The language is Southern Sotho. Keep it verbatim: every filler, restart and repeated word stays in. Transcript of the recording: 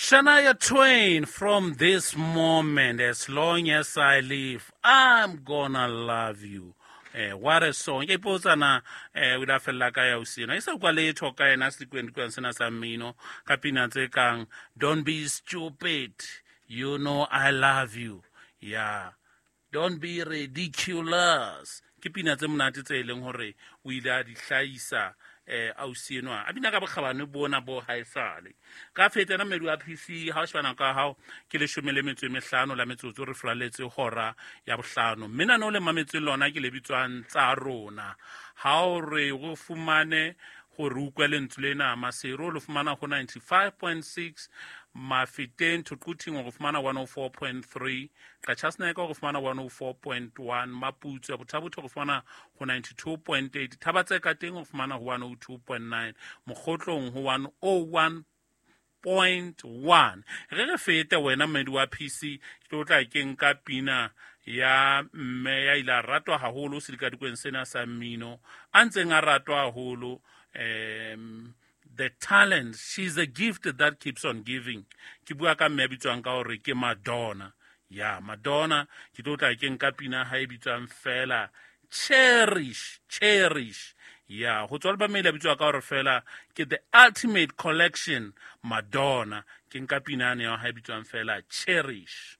Shania Twain, from this moment, as long as I live, I'm gonna love you. Eh, what a song. Ke ipotsa na eh o ile a fella ka ya ausi ena. E sa kwa letho ka yena sekweng sena sa mmino ka pina tse kang Don't be stupid, you know I love you. Yeah. Don't be ridiculous. Ke pina tse monate tse e leng hore o ile a di hlahisa eh ausi enwa. A bina ka bokgabane bona bo haesale. Ka feta na mmedi wa P C ha o shebana ka hao ke leshome le metso e mehlano la metsotso re furaletse hora ya bohlano. Mme nano le mametse lona ke le bitswang tsa rona. Ha o re o fumane hore o utlwe lentswe lena Maseru o le fumana ho ninety-five point six, Mafeteng Thoquthing o fumana one oh four point three, Qachaseneke o fumana one oh four point one, Maputswe Bothabotho o fumana ho ninety-two point eight, Thabatseka teng o fumana ho one oh two point nine, Mokgotlong ho one oh one point one. Re re fete wena mmedi wa P C, ke tlo tla ke nka pina ya mme ya ile a ratwa haholo sedikadikweng sena sa mmino, a ntseng a ratwa haholo, um, the talent, she's a gift that keeps on giving. Ke bua ka mme ya bitswang ka hore ke Madonna. Ya Madonna, ke tlo tla ke nka pina ha e bitswang fela Cherish, Cherish. Ya, ho tswa album e ile ya bitswa ka hore fela ke The Ultimate Collection, Madonna. Ke nka pina ane ya ha e bitswang fela Cherish.